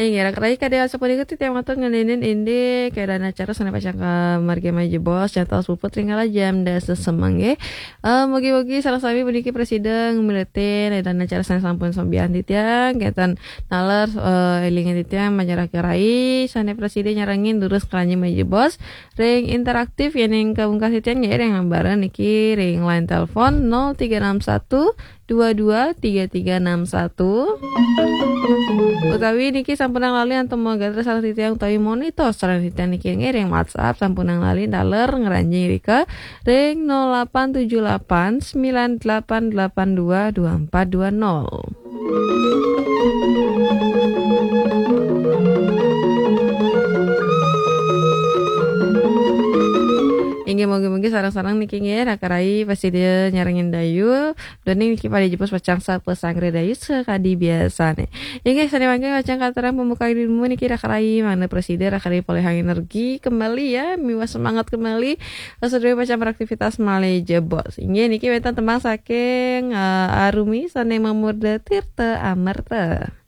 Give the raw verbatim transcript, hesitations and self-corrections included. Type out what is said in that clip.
Inggih, raka rayi, kadang sapunika titiang matur ngeninin indik keadaan acara sané pacang kamargi majebos, jantos puput ring kala jam dasa semeng, nggih. Eh, mugi-mugi sareng sami puniki prasida ngamiletin keadaan acara sané sampun sambian titiang, kénten naler, eh, élingan titiang, raka rayi, sané prasida nyarengin durus kala jam majebos ring interaktif, yéning kapungkas titiang nggih ring ambara niki ring line telepon nol tiga enam satu dua dua tiga tiga enam satu. Utawi niki sampunang lali antuk magatra sareng titiang utawi monitor sareng titiang niki ngiring WhatsApp, sampunang lali taler ngranjing rika ring nol delapan tujuh delapan sembilan delapan delapan dua dua empat dua nol. Inggih, mugi-mugi sareng-sareng niki nggih, raka rayi, prasida nyarengin dayu. Duaning niki pada jebos pacang sapasanggra dayu sakadi biasané. Inggih, sané mangkin pacang katurang pembukaan ilmu niki, raka rayi, mangda prasida raka rayi polihang energi kembali ya, miwah semangat kembali. Sadurung pacang beraktivitas malih jebos. Inggih, niki wénten tembang saking, eh, Arumi sané mamurda Tirta Amerta.